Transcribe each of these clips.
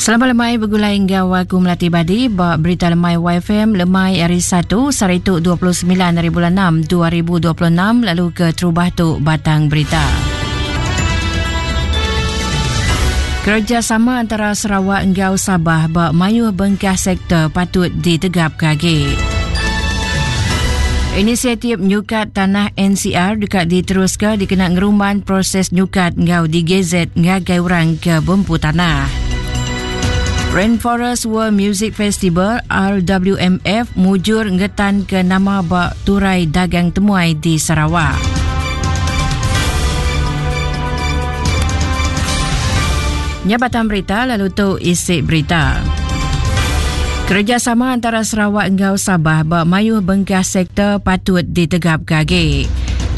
Selamat lemai begulai enggau aku Melati Badi ba Berita Lemai YFM lemai hari 1 sehari tu 29 hari bulan 6 2026 lalu ke terubah tu batang berita. Kerjasama antara Sarawak enggau Sabah ba mayuh bengkah sektor patut ditegapka agi. Inisiatif nyukat tanah NCR deka diteruska dikena ngerumban proses nyukat enggau digazet ngagai orang ke bempu tanah. Rainforest World Music Festival RWMF mujur ngetanka nama ba turai dagang temuai di Sarawak. Nya batang berita lalu tu isi berita. Kerjasama antara Sarawak enggau Sabah ba mayuh bengkah sektor patut ditegapka agi.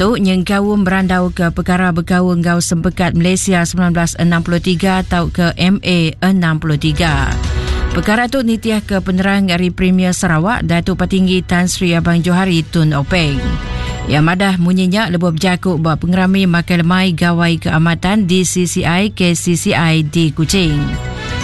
Tu nyengkaum berandau ke pekara bekaul enggau Sempekat Malaysia 1963 tauka MA 63. Pekara tu nitih ke penerang ari Premier Sarawak Datuk Patinggi Tan Sri Abang Johari Tun Openg. Iya madah munyi nya lebuh bejaku ba pengerami makai lemai Gawai Keamatan DCCI KCCI di Kuching.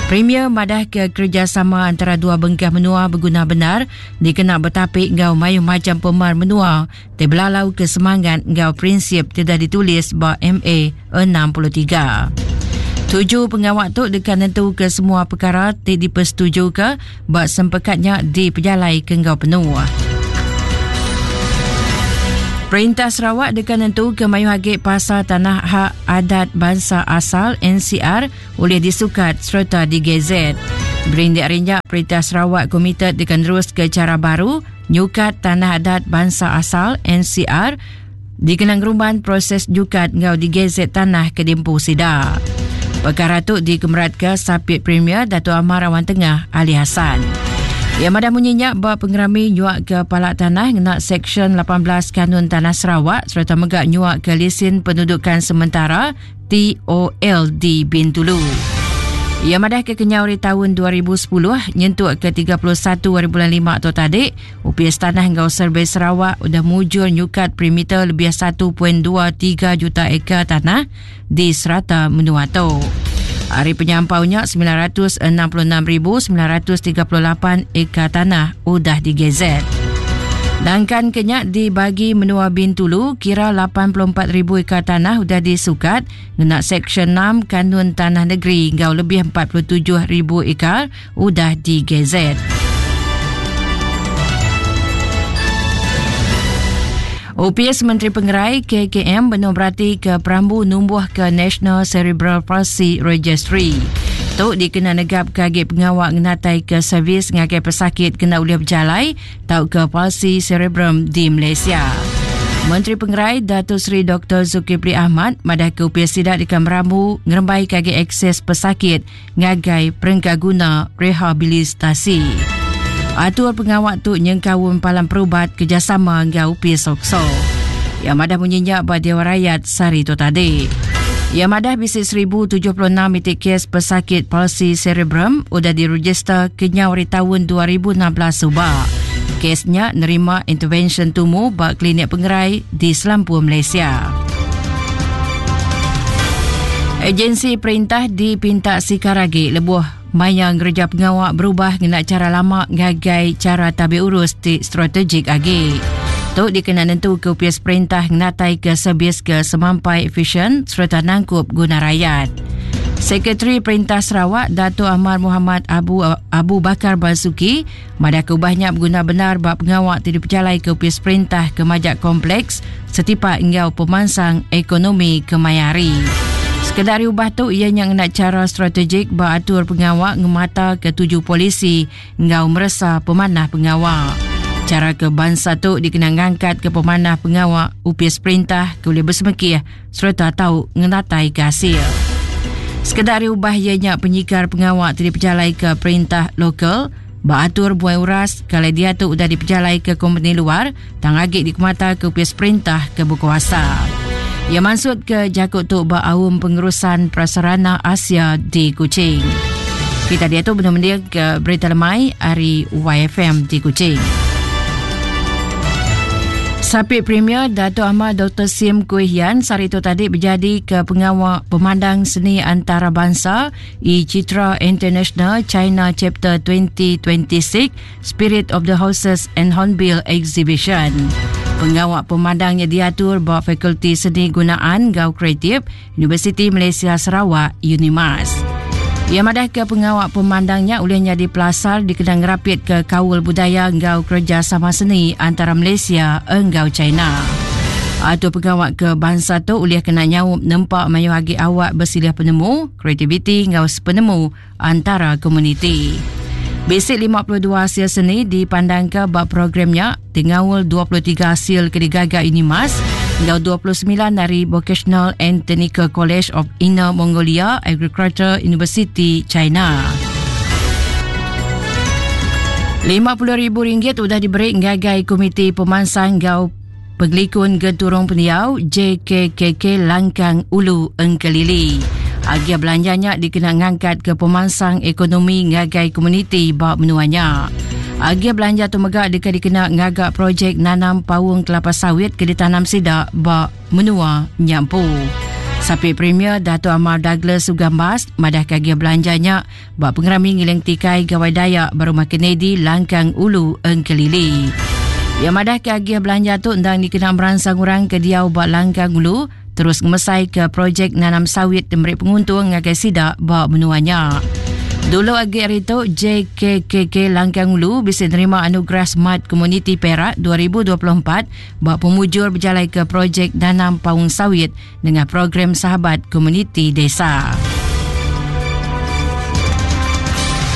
Premier madah ke kerejasama antara dua bengkah menua beguna bendar dikena betapi enggau mayuh macham pemar menua ti belalau ke semangat enggau prinsip ti udah ditulis ba MA 63. Tuju pengawa tu deka nentuka semua pekara ti dipesetujuka ba sempekat nya dipejalaika enggau penuh. Perintah Sarawak deka nentuka mayuh agi pasal tanah hak adat bansa asal NCR ulih disukat sereta digazet. Berindik ari nya, Perintah Sarawak komited deka neruska chara baru nyukat tanah adat bansa asal NCR dikena ngerumban proses nyukat enggau digazet tanah ke diempu sida. Pekara tu dikemeratka Sapit Premier Datuk Amar Awang Tengah Ali Hasan. Iya madah munyi nya ba pengerami nyuaka pala tanah ngena Seksyen 18 Kanun Tanah Sarawak sereta mega nyuaka lisin pendudukan sementara TOL di Bintulu. Iya madah ke kenyau ari taun 2010 nyentuk ke 31 hari bulan 5 tu tadi, Opis Tanah enggau Survei Sarawak udah mujur nyukat perimeter lebih 1.23 juta ekar tanah di serata menua tu. Ari penyampau nya 966,938 ekar tanah udah digazet. Nangkan ke nya dibagi menua Bintulu kira 84,000 ekar tanah udah disukat ngena Seksyen 6 Kanun Tanah Negeri enggau lebih 47,000 ekar udah digazet. Opis Menteri Pengerai KKM benung beratika perambu numbuhka National Cerebral Palsy Registry. Tu dikena negapka agi pengawa ngenataika servis ngagai pesakit kena ulih bejalai tauka palsi cerebrum di Malaysia. Menteri Pengerai Datuk Seri Dr. Zulkifli Ahmad madahka opis sida deka merambu ngerembaika agi akses pesakit ngagai perengkaguna rehabilitasi. Atur pengawa tu nyengkaum palan perubat kerjasama enggau Opis Sokso. Iya madah munyi nya ba Dewan Rakyat sehari tu tadi. Iya madah bisi 1076 iti kes pesakit palsi cerebrum udah diregister kenyau ari taun 2016 suba. Kes nya nerima intervensyen tumu ba klinik pengerai di selampur Malaysia. Agensi perintah dipinta sikar agi lebuh maya ngereja pengawa berubah ngena chara lama ngagai chara tabi urus ti strategik agi. Tu dikena nentuka opis perintah ngenataika servis ke semampai efisien sereta nangkup guna rayat. Sekretari Perintah Sarawak Datuk Amar Mohamad Abu Abu Bakar Basuki Madahka ubah nya beguna bendar ba pengawa ti dipejalaika opis perintah ke majak kompleks setipak enggau pemansang ekonomi kemaya hari. Sekeda ari ubah tu iya nya ngena chara strategik ba atur pengawa ngemataka tuju polisi enggau meresa pemanah pengawa. Chara ke bansa tu dikena ngangkatka pemanah pengawa opis perintah ke ulih besemekih sereta tau ngenataika asil. Sekeda ari ubah iya nya penyikar pengawa ti dipejalaika perintah lokal ba atur buai uras ke alai diatu udah dipejalaika kompeni luar tang agi dikemataka opis perintah ke bekuasa. Iya mansutka jaku tu ba Aum Pengurusan Prasarana Asia di Kuching. Kita diatu benung mendingka berita lemai ari YFM di Kuching. Sapit Premier Datuk Amar Doktor Sim Kui Hian sehari itu tadi bejadi ke pengawa pemandang seni antarabangsa E-Citra International China Chapter 2026 Spirit of the Horses and Hornbill Exhibition. Pengawa pemandangnya diatur ba Fakulti Seni Gunaan Gau Kreatif Universiti Malaysia Sarawak, UNIMAS. Ia madah ke pengawa pemandangnya ulih nyadi pelasar dikena ngerapit ke kaul budaya enggau kerejasama seni antara Malaysia enggau China. Atur pengawa ke bansa tu ulih kena nyaup nempa mayuh agi awak besilih penemu, kreativiti enggau sepenemu antara komuniti. Bisi 52 asil seni dipandangka ba program nya ti ngaul 23 asil ke digaga Unimas enggau 29 ari Vocational and Technical College of Inner Mongolia Agriculture University, China. RM50,000 udah diberi ngagai Komiti Pemansang enggau Pengelikun Genturung Pendiau JKKK Langkang Ulu Engkelili. Agia belanja nya dikena ngangkatka pemansang ekonomi ngagai komuniti ba menua nya. Agia belanja tu mega deka dikena ngaga projek nanam paung kelapa sawit ke ditanam sida ba menua nya empu. Sapit Premier Datuk Amar Douglas Ugambas madahka agia belanja nya ba pengerami ngiling tikai Gawai Dayak ba Rumah Kennedy Langkang Ulu Engkelili. Iya madahka agih belanja tu endang dikena meransang orang ke diau ba Langkang Ulu terus ngemesaika projek nanam sawit ti meri penguntung ngagai sida ba menua nya. Dulu agi ari tu, JKKK Langkang Ulu bisi nerima Anugerah Smart Community Perak 2024 ba pemujur bejalaika projek nanam paung sawit nengah program Sahabat Komuniti Desa.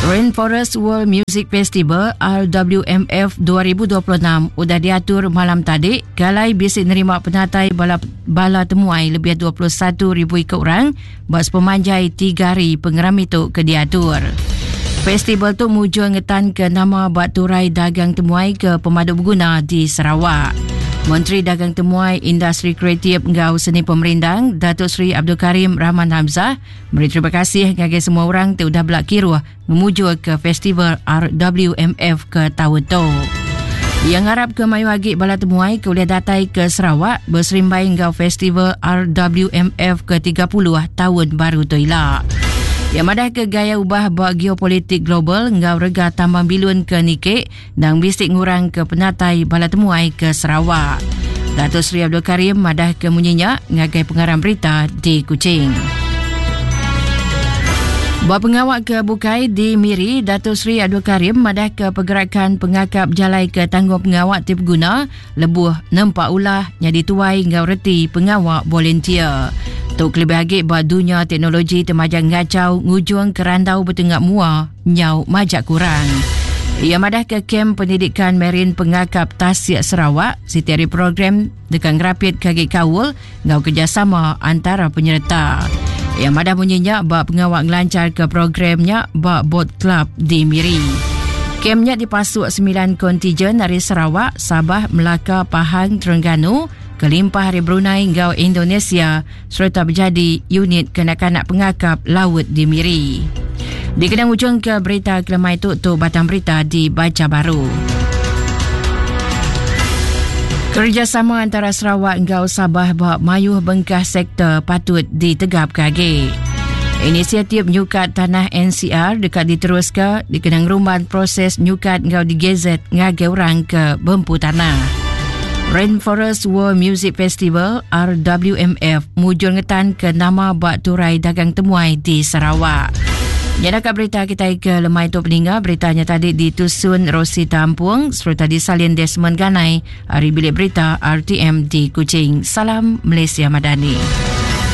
Rainforest World Music Festival RWMF 2026 udah diatur malam tadi kalai bisi nerima penatai bala bala temuai lebih 21,000 iku orang ba sepemanjai tiga hari pengerami tu ke diatur. Festival tu mujur ngetanka nama ba turai dagang temuai ke pemadu beguna di Sarawak. Menteri Dagang Temuai, Industri Kreatif enggau Seni Pemerindang, Datuk Seri Abdul Karim Rahman Hamzah meri terima kasih ngagai semua orang ti udah bela kiruh ngemujurka Festival RWMF ke taun tu. Iya ngarapka mayuh agi bala temuai ke ulih datai ke Sarawak beserimbai enggau Festival RWMF ke 30 taun baru tu ila. Iya madahka gaya ubah ba geopolitik global enggau rega tambang bilun ke niki Nang bisi ngurangka penatai bala temuai ke Sarawak. Dato Seri Abdul Karim madahka munyi nya ngagai pengarang berita di Kuching. Ba pengawa ke bukai di Miri, Dato Seri Abdul Karim madahka pergerakan pengakap jalai ke tanggung pengawa ti beguna lebuh nempa ulah nyadi tuai enggau reti pengawa volunteer. Tu kelebih agi ba dunya teknologi ti majak ngachau ngujung ke randau betengah mua nyau majak kurang. Iya madahka Kem Pendidikan Marin Pengakap Tasik Sarawak siti ari program deka ngerapitka agi kaul enggau kerejasama antara penyereta. Iya madah munyi nya ba pengawa ngelancharka program nya ba Boat Club di Miri. Kem nya dipasuk sembilan kontijen ari Sarawak, Sabah, Melaka, Pahang, Terengganu, kelimpah ari Brunei enggau Indonesia sereta bejadi unit kanak-kanak pengakap laut di Miri. Dikena ngujungka berita kelemai tu tu batang berita dibaca baru. Kerejasama antara Sarawak enggau Sabah ba mayuh bengkah sektor patut ditegapka agi. Inisiatif nyukat tanah NCR deka diteruska dikena ngerumban proses nyukat enggau digazet ngagai orang ke bempu tanah. Rainforest World Music Festival RWMF mujur ngetanka nama ba turai dagang temuai di Sarawak. Nyadaka berita kitai ke lemai tu peninga beritanya tadi ditusun Rosi Tampung sereta disalin Desmond Ganai ari Bilik Berita RTM di Kuching. Salam Malaysia Madani.